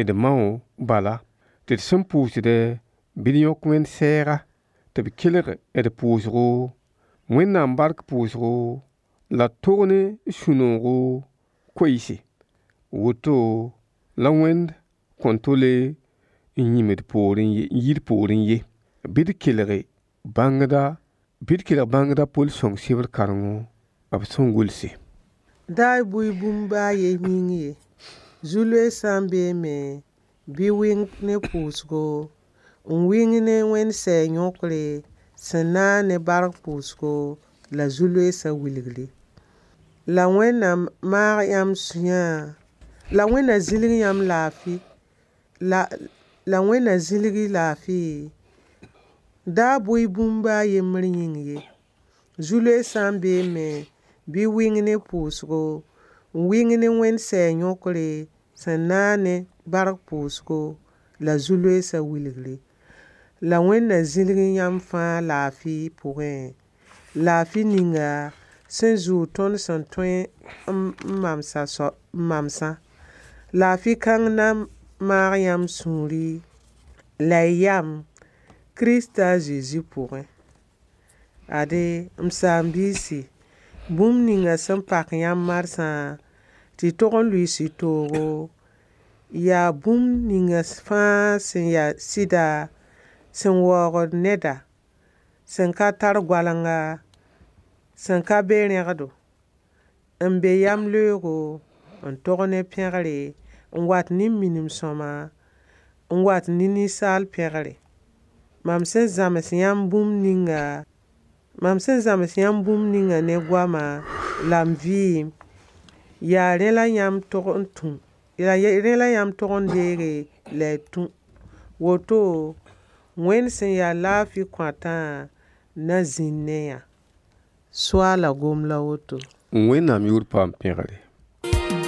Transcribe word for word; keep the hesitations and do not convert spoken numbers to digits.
D mao bala tɩ d sẽn pʋʋsdẽ bɩ d yõk Wẽnd sɛɛga, tɩ b kelg d pʋʋsgo, Wẽnnaam bark pʋʋsgo la d tog ne sũ-noogo koeeese. Woto la Wẽnd kõn tole n yĩm d poorẽ ye, n yi d poorẽ ye. Bɩ d kelg bãngda bɩ d kelg bãngda Pol sõng sebr kãrengo b sẽn gʋlse. Da y bʋɩ bũmb baa a yen yĩng ye. Zu-loeesã n beeme bɩ wɩng ne pʋʋsgo, n wɩng ne Wẽnd sɛɛg yõkre sẽn naag ne bark pʋʋsgo la zu-loeesã wilgre. La Wẽnd na maag yãmb sũyã la Wẽnd na zĩlg yãmb laafɩ la la Wẽnd na zĩlg y laafɩ da bʋɩ bũmb baa a yembr yĩng ye. Zu-loeesã n beeme bɩ wɩng ne pʋʋsgo, n wɩng ne Wẽnd sɛɛg yõkre sẽn naag ne bark pʋʋsgo la zu-loeesã wilgre. La Wẽnd na zĩlg yãmb fãa laafɩ pʋgẽ, laafɩ ninga sẽn zʋʋg tõnd sẽn tõe n mamsa n mamsã. Laafɩ kãng na maag yãmb sũuri la y yam Kirist a Zezi pʋgẽ. Ade m saam-biisi, bũmb ninga sẽn pak yãmb marsã tɩ y tog n lʋɩɩs y toogo, yaa bũmb ninga fãa sẽn yaa sɩda, sẽn waoogd neda, sẽn ka tar goalenga, sẽn ka be rẽgdo, n be yamleoogo, n tog ne pẽgre, n wat ne minim-sõma, n wat ne ninsaal pẽgre. Mam sẽn zãms yãmb bũmb ninga mam sẽn zãms yãmb bũmb ninga ne goama la m vɩɩm, yaa rẽ la yãmb tog n tũ yaa rẽ la yãmb tog n deege la y tũ. Woto Wẽnd sẽn yaa laafɩ kõatã na zĩnd ne yã. Soaala gom la woto. Wẽnnaam yʋʋr paam pẽgre.